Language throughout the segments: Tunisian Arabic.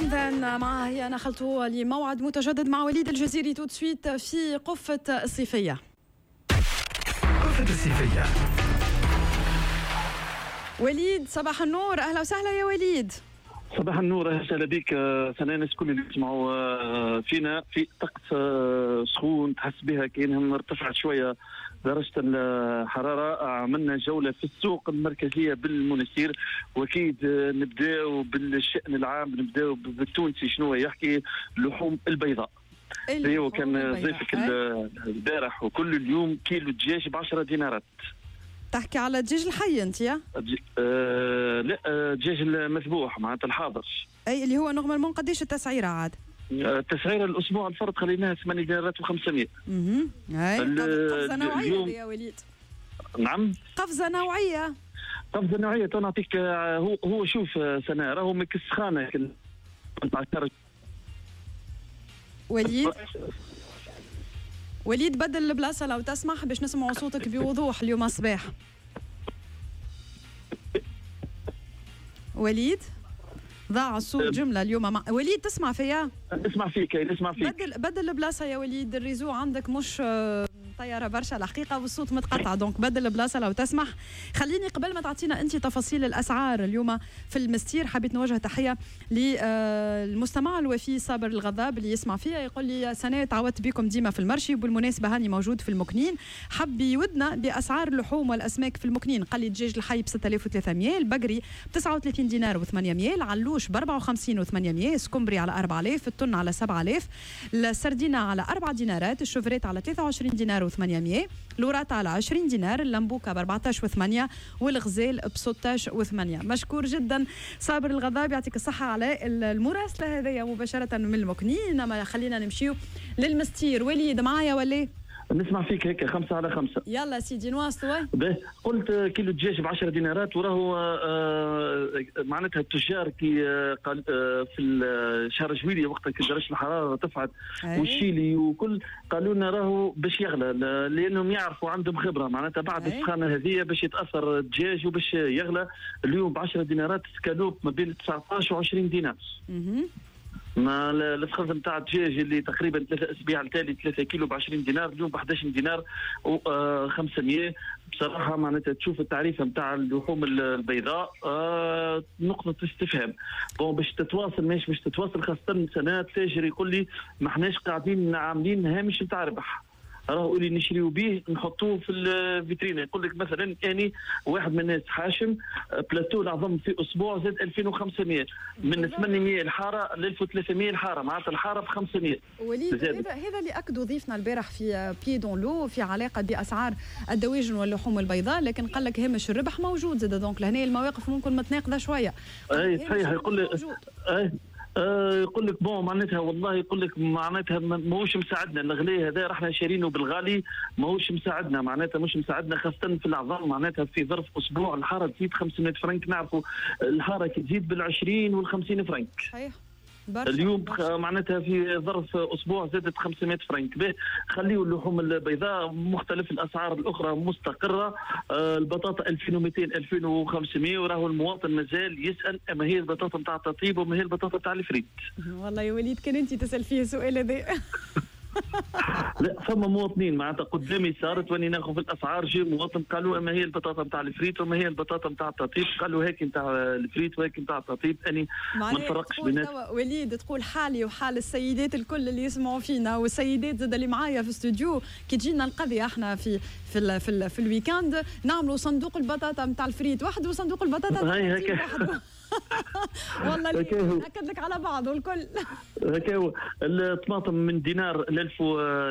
Soon Then معها هي نخلتوا لموعد متجدد مع وليد الجزيري tout de suite في قفة الصيفية. قفة الصيفية. وليد صباح النور، أهلا وسهلا يا وليد. صباح النور، اهلا وسهلا بك سناء. الناس الكل اللي يسمعوا فينا في طقس سخون تحس بها كأنها ارتفعت شوية درجة الحرارة. عملنا جولة في السوق المركزية بالمنستير، واكيد نبداو بالشأن العام، نبداو بالتونسي شنو يحكي. اللحوم البيضاء ايوه، كان ضيفك البارح وكل اليوم كيلو دجاج ب 10 دينارات. تحكي على الدجاج الحي انت يا؟ لا، الدجاج المذبوح معناتها الحاضر. اي اللي هو normalement قداش التسعيره عاد؟ التسعيره الاسبوع الفرد خليناها 8 دينارات و500. اي قفزه نوعية يا وليد. نعم، قفزه نوعية. قفزه نوعية تو نعطيك. هو شوف سنة راهو من السخانه. وليد وليد بدل البلاصة لو تسمح باش نسمعوا صوتك بوضوح اليوم الصباح. وليد ضاع الصوت جملة اليوم. وليد تسمع فيا؟ نسمع فيك، نسمع فيك. بدل البلاصة يا وليد، ال réseau عندك مش طيارة برشا الحقيقة والصوت متقطع، donc بدل البلاصة لو تسمح. خليني قبل ما تعطينا انت تفاصيل الاسعار اليوم في المستير، حبيت نوجه تحية للمستمع الوفي صابر الغضاب اللي يسمع فيا، يقول لي سنة تعودت بكم ديما في ال marché، وبالمناسبة هاني موجود في المكنين، حب يودنا باسعار اللحوم والاسماك في المكنين. قال لي الدجاج الحي ب 6300، البقري ب 39 دينار و800، العلوش ب 54 و800، السكمبري على 4000، التن على 7000، السردينه على 4 دينارات، ال chevrettes على 23 دينار و800، الوراطة على 20 دينار، اللمبوكة ب 14 و8، والغزال ب 16 و8. مشكور جدا صابر الغضاب، يعطيك الصحة على المراسلة هذيا مباشرة من المكنين. ما خلينا نمشيو للمستير. وليد معايا ولا؟ نسمع فيك هيك 5 على 5. يلا سيدي نواصلوا. قلت كيلو دجاج ب 10 دينارات، وراهو معناتها التجار كي قال في شهر جويلية وقت كي درجة الحرارة ارتفعت والشيلي وكل، قالوا لنا راهو باش يغلى، لانهم يعرفوا عندهم خبره معناتها بعد السخانه هذه باش يتاثر الدجاج وباش يغلى. اليوم ب 10 دينارات سكالوب ما بين 19 و 20 دينار. ما الفخذ نتاع الدجاج اللي تقريبا 3 اسابيع التالي 3 كيلو ب 20 دينار، اليوم ب 11 دينار و 500. بصراحة معناتها تشوف التعريفه نتاع اللحوم البيضاء نقطة استفهام. bon باش تتواصل ماشي باش تتواصل، خاصة سنة تاجر يقول لي ما احناش قاعدين عاملين هامش نتاع ربح، راهو اللي نشريو به نحطوه في الفيترينا. يقول لك مثلا اني واحد من الناس حاشم بلاتو العظم في اسبوع زاد 2500، من 800 الحارة ل 1300 الحارة، معناتها الحارة ب 500. وليد هذا اللي اكدوا ضيفنا البارح في Pied dans l'eau في علاقة باسعار الدواجن واللحوم البيضاء، لكن قال لك هامش الربح موجود زاد، donc لهنا المواقف ممكن متناقضة شوية. اي صحيح، يقول لك يقول لك bon معناتها والله يقول لك معناتها ماهوش مساعدنا الغلي هذا، رحنا شارينه بالغالي ماهوش مساعدنا، معناتها مش مساعدنا خاصة في العظام. معناتها في ظرف اسبوع الحارة تزيد 500 فرنك، نعرفوا الحارة كي تزيد بال 20 وال 50 فرنك. صحيح. اليوم معناتها في ظرف اسبوع زادت 500 فرنك. به خليوا اللحوم البيضاء مختلف الاسعار الاخرى مستقره. البطاطا 2200 2500، وراهو المواطن مازال يسال اما هي البطاطا نتاع التطيب وما هي البطاطا نتاع الفريت. والله يا وليد كان انت تسال فيه السؤال هذا. لا فما مواطنين معناتها قدامي صارت واني ناخذ في الاسعار، جي مواطن قالوا اما هي البطاطا نتاع الفريت وما هي البطاطا نتاع التطيب، قالوا هيك نتاع الفريت وهيك نتاع التطيب. اني ما نفرقش بينات. وليد تقول حالي وحال السيدات الكل اللي يسمعوا فينا والسيدات زاد اللي معايا في الاستوديو، كي تجينا القضية احنا في في ال في, ال في ال week-end نعملوا صندوق البطاطا نتاع الفريت وحده وصندوق البطاطا نتاع التطيب وحده. والله ناكد لك على بعض والكل. هكا هو الطماطم من دينار ل 1000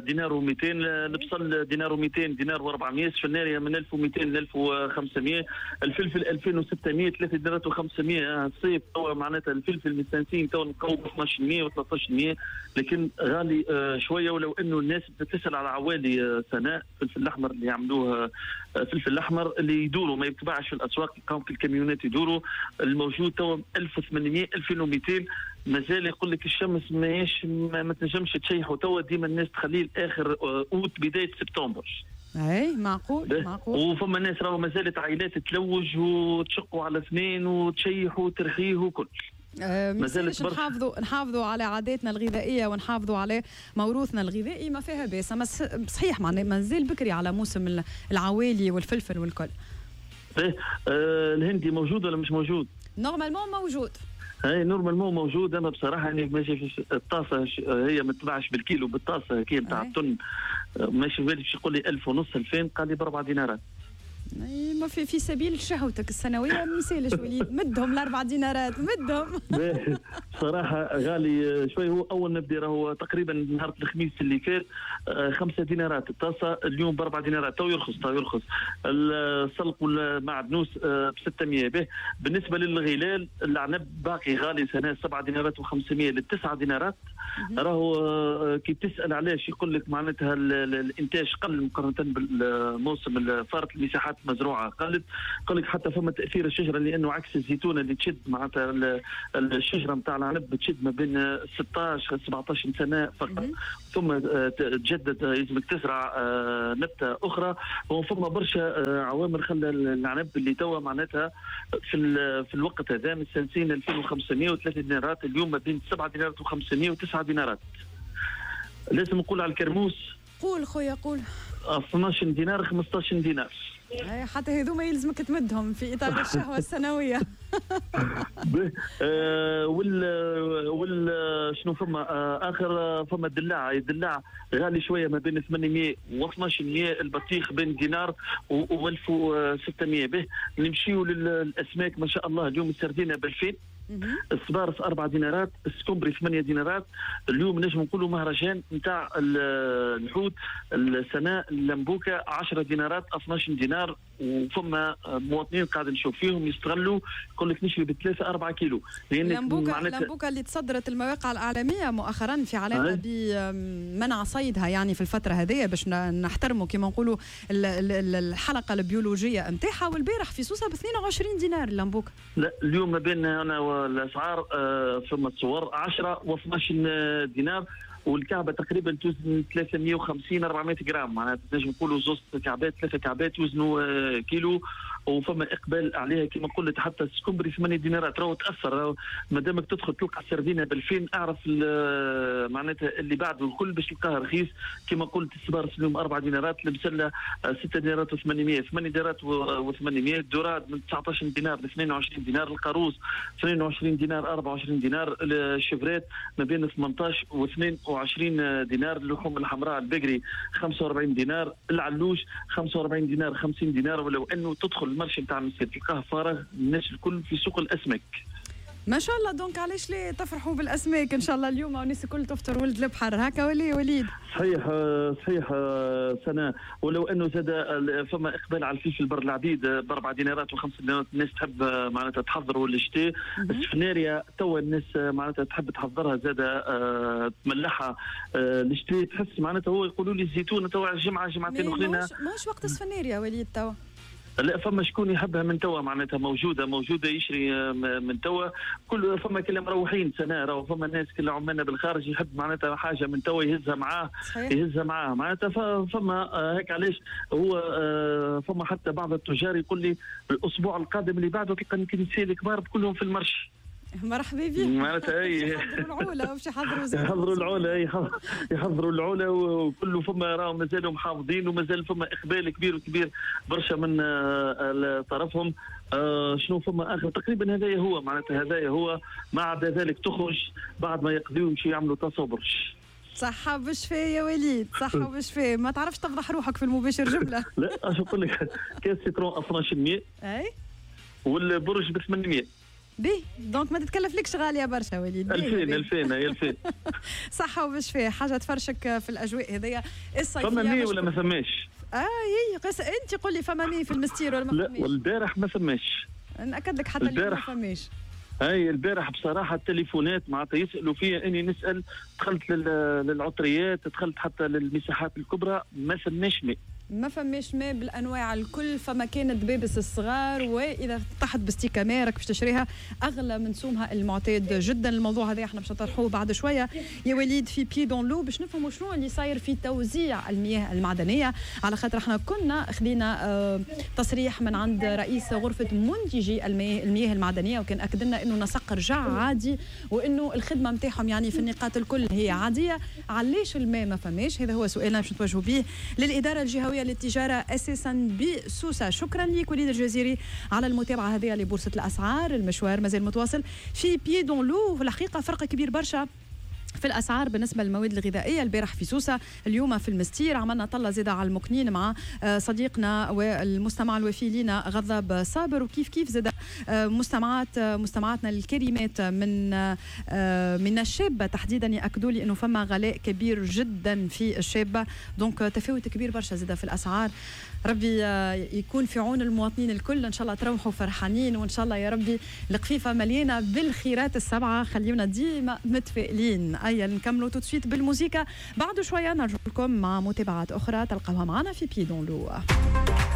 دينار و200، البصل دينار و200، دينار و400، السفناريا من 1200 ل 1500، الفلفل 2600، 3 دينارات و500. الصيف توا معناتها الفلفل مستانسين توا نلقاو ب 1200 و1300، لكن غالي شوية. ولو انه الناس بتسال على عوالي سناء الفلفل الاحمر اللي يعملوه، الفلفل الاحمر اللي يدوروا ما يتباعش في الاسواق، تلقاهم في الكاميونات يدوروا. الموجود توا 1800 2200، مازال يقول لك الشمس ماهيش ما تنجمش تشيحوا توا، ديما الناس تخليه لاخر اوت بداية سبتمبر. اي معقول معقول. وفما ناس راهو مازالت عائلات تلوج وتشقوا على اثنين وتشيحوا وترخيه وكل. مازالت نحافظوا على عاداتنا الغذائية ونحافظوا على موروثنا الغذائي، ما فيها باس. صحيح معناها مازال بكري على موسم العوالي والفلفل والكل. الهندي موجود ولا مش موجود؟ normalement موجود. اي normalement موجود. انا بصراحة يعني ماشي في الطاسه، هي ما تباعش بالكيلو، بالطاسه كي نتاع الطن، ماشي في بالي باش يقول لي 1500 2000، قال لي ب4 دينارات. ما في سبيل شهوتك السنوية ما يسالش وليد، مدهم ال4 دينارات مدهم. صراحة غالي شوي. هو اول نبدا راهو تقريبا نهار الخميس اللي فات 5 دينارات الطاسه، اليوم ب4 دينارات. تو يرخص تو يرخص. السلق والمعدنوس ب 600 به. بالنسبة للغلال العنب باقي غالي سنة 7 دينارات و500 لل9 دينارات. راهو كي تسال علاش يقول لك معناتها الانتاج قل مقارنة بالموسم الفارط، المساحات مزروعة قلت. قال لك حتى فما تاثير الشجرة، لانه عكس الزيتونه اللي تشد معناتها الشجرة نتاع العنب تشد ما بين 16 17 سنة فقط، ثم تجدد، لازمك تزرع نبته اخرى. وفما برشا عوامل خلى العنب اللي توا معناتها في الوقت هذا من سنتين 2503 دينارات، اليوم ما بين 7 دينارات و500 و9 دينارات. لازم نقول على الكرموس. قول خويا قول. 12 دينار 15 دينار. حتى هذوما يلزمك تمدهم في اطار الشهوة السنوية. وال شنو فما اخر؟ فما الدلاع، الدلاع غالي شوية ما بين 800 و 1200، البطيخ بين دينار و 1600 به. نمشيو للاسماك ما شاء الله، اليوم السردينه ب 2000، الصبارس 4 دينارات، السكومبري 8 دينارات. اليوم نجم نقولوا مهرجان نتاع الحوت السنة، اللمبوكه 10 دينارات 12 دينار. وفما مواطنين قاعد نشوف فيهم يستغلوا، يقول لك نشري ب3 4 كيلو. اللمبوكه اللي تصدرت المواقع الاعلامية مؤخرا في علاقة بمنع صيدها، يعني في الفترة هذه باش نحترموا كما نقولوا الحلقة البيولوجية نتاعها. والبارح في سوسة ب 22 دينار اللمبوكه. لا اليوم ما بين انا والاسعار فما الصور 10 و12 دينار، والكعبة تقريبا توزن 350 400 جرام، معناتها تنجم نقولوا زوز كعبات 3 كعبات وزنوا كيلو. وفما اقبال عليها كما قلت. حتى السكومبري 8 دينارات راهو تاثر، ما دامك تدخل تلقى السردينه ب2000 اعرف معناتها اللي بعده الكل باش تلقاها رخيص. كما قلت السبارس اليوم 4 دينارات، المسله 6 دينارات و800، 8 دينارات و800، ال dorade من 19 دينار ل 22 دينار، القاروص 22 دينار 24 دينار، ال chevrette ما بين 18 و 22 دينار، اللحوم الحمراء البقري 45 دينار، العلوش 45 دينار 50 دينار. ولو انه تدخل ال marché نتاع المسير تلقاه فارغ، الناس الكل في سوق الاسماك ما شاء الله. donc علاش ليه تفرحوا بالاسماك ان شاء الله اليوم والناس الكل تفطر ولد البحر هكا ولا وليد؟ صحيح صحيح سنة. ولو انه زاد فما اقبال على الفلفل بر العبيد ب4 دينارات و5 دينارات، الناس تحب معناتها تحضروا الشتاء. السفناريا توا الناس معناتها تحب تحضرها زاد تملحها الشتاء، تحس معناتها هو يقولوا لي الزيتون توا الجمعة جمعتين اخرين. ماهوش وقت السفناريا وليد توا. لا فما شكون يحبها من توا معناتها موجودة يشري من توا. كل فما كل مروحين سنة، راهو فما ناس كل عمالنا بالخارج يحب معناتها حاجة من توا يهزها معاه. صحيح. يهزها معاه معناتها. فما هيك علاش هو فما حتى بعض التجار يقول لي الاسبوع القادم اللي بعده تلقى الكنيسيه الكبار كلهم في ال marché. مرحبا بك. معناتها اي يحضروا العوله باش يحضروا يحضروا العوله، يحضروا العوله وكله. فما راهم مازالوا محافظين ومازال فما اقبال كبير وكبير برشا من طرفهم. شنو فما اخر تقريبا هذايا هو معناتها هذايا هو. ما عدا ذلك تخرج بعد ما يقضيوا يمشوا يعملوا تصبرش. صحة وبشفاء يا وليد، صحة وبشفاء. ما تعرفش تفضح روحك في المباشر جملة. لا اش نقول لك، كاس citron 1200 اي والبرج ب 800. بيه donc ما تتكلفلكش غالية برشا وليد. 2000 2000 هي 2000. صحة وبشفاء، حاجة تفرشك في الاجواء هذيا الصيفية. فما مي ولا ما فماش؟ اي قص انت قول لي فما مي في المستير ولا ما فماش؟ لا والبارح ما فماش. ناكد لك حتى اليوم ما فماش. اي البارح بصراحة التليفونات معناتها يسالوا فيا اني نسال، دخلت للعطريات، دخلت حتى للمساحات الكبرى، ما فماش ماء. ما فماش ماء بالانواع الكل، فما كان دبابس الصغار، واذا طحت بستيكه ماء راك باش تشريها اغلى من سومها المعتاد جدا. الموضوع هذا احنا باش نطرحوه بعد شوية يا وليد في Pied dans l'eau، باش نفهموا شنو اللي صاير في توزيع المياه المعدنيه، على خاطر احنا كنا خذينا تصريح من عند رئيس غرفة منتجي المياه المعدنيه، وكان اكد لنا انه نسق رجع عادي وانه الخدمة نتاعهم يعني في النقاط الكل هي عاديه. علاش الماء ما فماش؟ هذا هو سؤالنا باش نتوجهوا به للادارة الجهوية للتجارة اساسا بسوسه. شكرا لك وليد الجزيري على المتابعة هذه لبورصه الاسعار. المشوار مازال متواصل في Pied dans l'eau. في الحقيقة فرق كبير برشا في الاسعار بالنسبة للمواد الغذائية، البارح في سوسه، اليوم في المستير. عملنا طله زاده على المكنين مع صديقنا والمستمع الوفي لنا غضب صابر، وكيف كيف زاده مستمعاتنا الكريمات من الشابة تحديدا ياكدوا لي انه فما غلاء كبير جدا في الشابه، donc تفاوت كبير برشا زاده في الاسعار. ربي يكون في عون المواطنين الكل، ان شاء الله تروحوا فرحانين، وان شاء الله يا ربي القفيفه مليانة بالخيرات السبعه. خليونا ديما متفائلين. ايا نكملوا tout de suite بالموسيقى، بعد شوية نرجع لكم مع متابعات اخرى تلقاوها معنا في Pied dans l'eau.